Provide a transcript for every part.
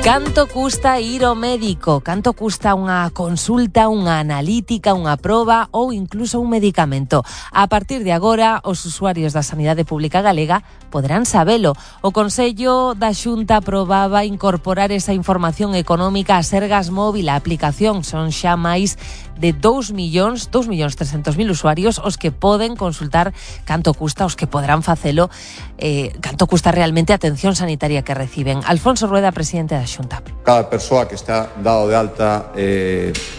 Canto custa ir ao médico? Canto custa unha consulta, unha analítica, unha proba ou incluso un medicamento? A partir de agora, os usuarios da Sanidade Pública Galega poderán sabelo. O Consello da Xunta aprobaba incorporar esa información económica a Sergas Móvil. A aplicación son xa máis de 2.300.000 usuarios os que poden consultar canto custa, os que poderán facelo, canto custa realmente a atención sanitaria que reciben. Alfonso Rueda, presidente da Xunta. Cada persoa que está dado de alta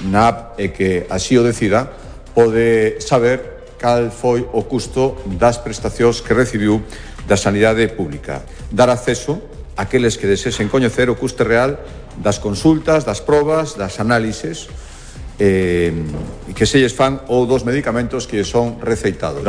na app e que así o decida pode saber cal foi o custo das prestacións que recibiu da sanidade pública. Dar acceso àqueles que desesen coñecer o custe real das consultas, das probas, das análises que se lles fan ou dos medicamentos que son receitados.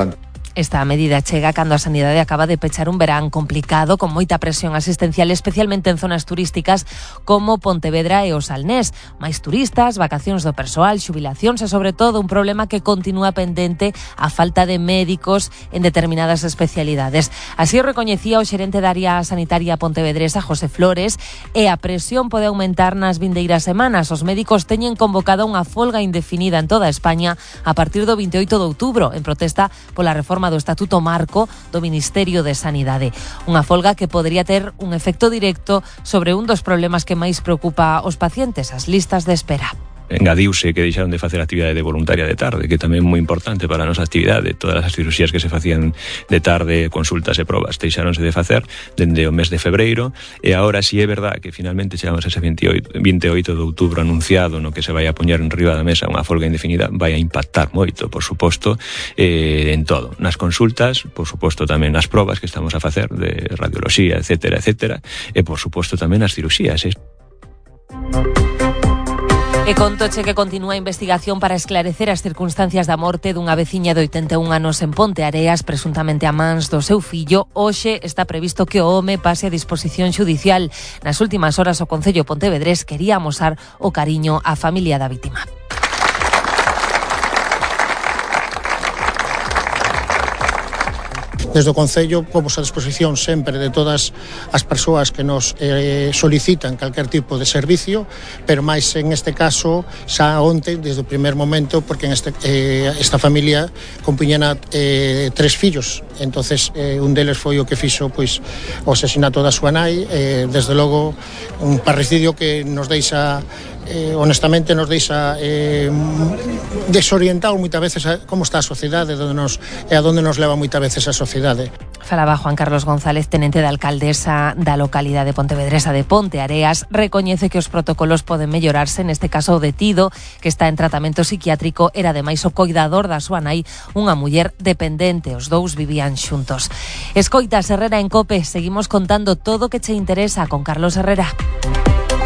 Esta medida chega cando a Sanidade acaba de pechar un verán complicado con moita presión asistencial, especialmente en zonas turísticas como Pontevedra e o Salnés. Máis turistas, vacacións do persoal, xubilacións e, sobre todo, un problema que continúa pendente, a falta de médicos en determinadas especialidades. Así o recoñecía o xerente da área sanitaria pontevedresa, José Flores, e a presión pode aumentar nas vindeiras semanas. Os médicos teñen convocado unha folga indefinida en toda España a partir do 28 de outubro, en protesta pola reforma do Estatuto Marco do Ministerio de Sanidade. Unha folga que podría ter un efecto directo sobre un dos problemas que máis preocupa aos pacientes, as listas de espera. Engadiuse que deixaron de facer actividade de voluntaria de tarde, que tamén é moi importante para a nosa actividade. Todas as cirurxías que se facían de tarde, consultas e probas, deixaronse de facer dende o mes de febreiro, e agora si é verdad que finalmente chegamos a ese 28 de outubro anunciado no que se vai a poñer en riba da mesa unha folga indefinida, vai a impactar moito, por suposto, en todo. Nas consultas, por suposto tamén nas probas que estamos a facer de radioloxía, etcétera, e por suposto tamén nas cirurxías. E contoche que continúa a investigación para esclarecer as circunstancias da morte dunha veciña de 81 anos en Ponteareas, presuntamente a mans do seu fillo. Hoxe está previsto que o home pase a disposición xudicial. Nas últimas horas o Concello pontevedrés quería amosar o cariño á familia da vítima. Desde o Concello pomos a disposición sempre de todas as persoas que nos solicitan calquer tipo de servicio, pero máis en este caso xa onte, desde o primer momento, porque en esta familia compuñena 3 fillos, entonces un deles foi o que fixo pois o asesinato da súa nai, desde logo un parricidio que nos deixa honestamente nos deixa desorientado moitas veces a como está a sociedade e a donde nos leva moitas veces a sociedade. Falaba Juan Carlos González, tenente da alcaldesa da localidade pontevedresa de Ponteareas. Recoñece que os protocolos poden mellorarse, neste caso o detido, que está en tratamento psiquiátrico, era ademais o coidador da súa nai, unha muller dependente. Os dous vivían xuntos. Escoitas Herrera en COPE, seguimos contando todo o que che interesa con Carlos Herrera.